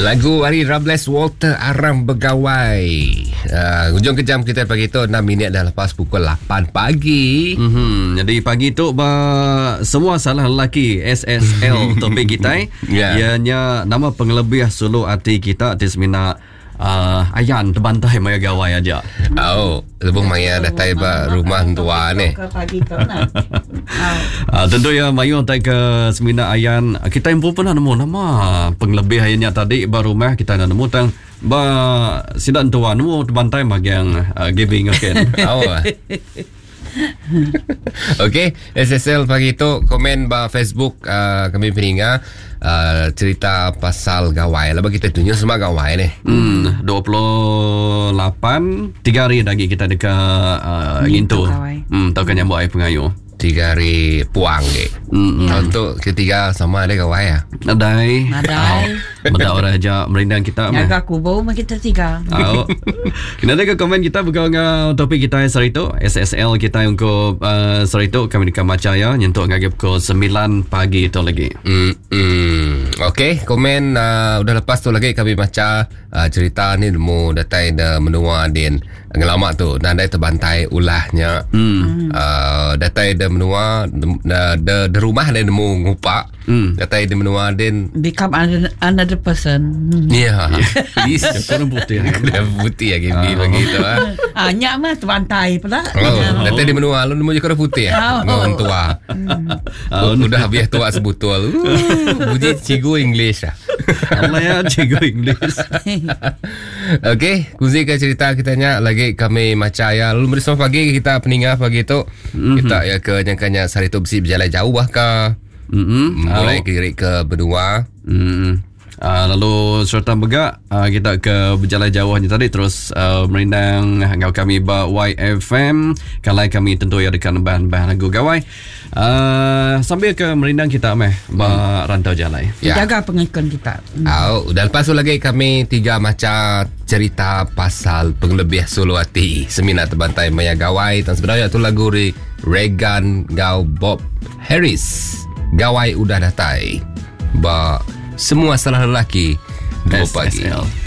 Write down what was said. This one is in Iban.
Lagu ari Rables Walter Aram Begawai. Uh, ujung ke jam kita pagi tu 6 minit dah lepas pukul 8 pagi. Mm-hmm. Jadi pagi tu ba semua salah lelaki SSL topik kita. Yeah. Ianya nama pengelebih sulu ati kita ti semina uh, ayan terbantai maya gawai aja. Oh, lebuh maya datai ba rumah entua ni. Ke pagi tu nah. Uh, tentu ya mayuh tai ke semina ayan kita empu pernah nemu nama pengelebih ayan nya tadi ba rumah kita dah nemu tang ba sida entua nemu terbantai magang uh, giving okay. Oh. Okey, SSL pagi tu komen ba Facebook uh, kami peninga uh, cerita pasal gawai. Lalu kita tunjuk semua gawai ni. Hmm, 28 tiga hari lagi kita dekat uh, ngintu. Gawai. Hmm, tau kan nyambut air pengayu. Tiga hari puang ni. Hmm. Tahun tu ketiga sama ada gawai ah. Nadai. Nadai. Oh, Medak orang aja merindang kita meh. Jaga kubur mah kita tiga. Au. Kena ada ke komen kita berkau dengan topik kita sehari tu SSL kita untuk uh, sehari tu kami dekat maca ya nyentuk ngagai pukul 9 pagi tu lagi. Hmm. hmm. Okey, komen uh, udah lepas tu lagi kami baca uh, cerita ni nemu datai de menua din ngelama tu nadai terbantai ulahnya. Hmm. Uh, datai de menua de, de, de rumah dia nemu ngupak. Hmm. Datai de menua din Become another, another person. Ya. Yeah. Kurang putih. Kena putih lagi uh. bagi tu ah. Ah, nyak mah terbantai pula. Oh, datai di menua lu nemu je kena putih. Oh. Ngau tua. Oh, Udah habis tua sebutul. Uh, bunyi cikgu English lah. Allah ya cikgu English. Okey, kunci ke cerita kita nya lagi kami maca ya. Lalu beri selamat pagi kita peninga pagi tu. Mm-hmm. Kita ya ke nyangkanya sehari tu besi berjalan jauh bah ke. Mm-hmm. Mulai ke ke benua. Hmm. Uh, lalu serta mega uh, kita ke berjalan jauh ni tadi terus uh, merindang ngau kami ba YFM kalai kami tentu ya dekat bahan-bahan lagu gawai uh, sambil ke merindang kita meh ba rantau jalai. Ya. Jaga pengikut kita. Au, dan lepas tu lagi kami tiga macam cerita pasal pengelebih solo hati. Semina terbantai Maya Gawai dan sebenarnya tu lagu ri Regan Gau Bob Harris. Gawai udah datai. Ba semua salah lelaki dua pagi. SSL.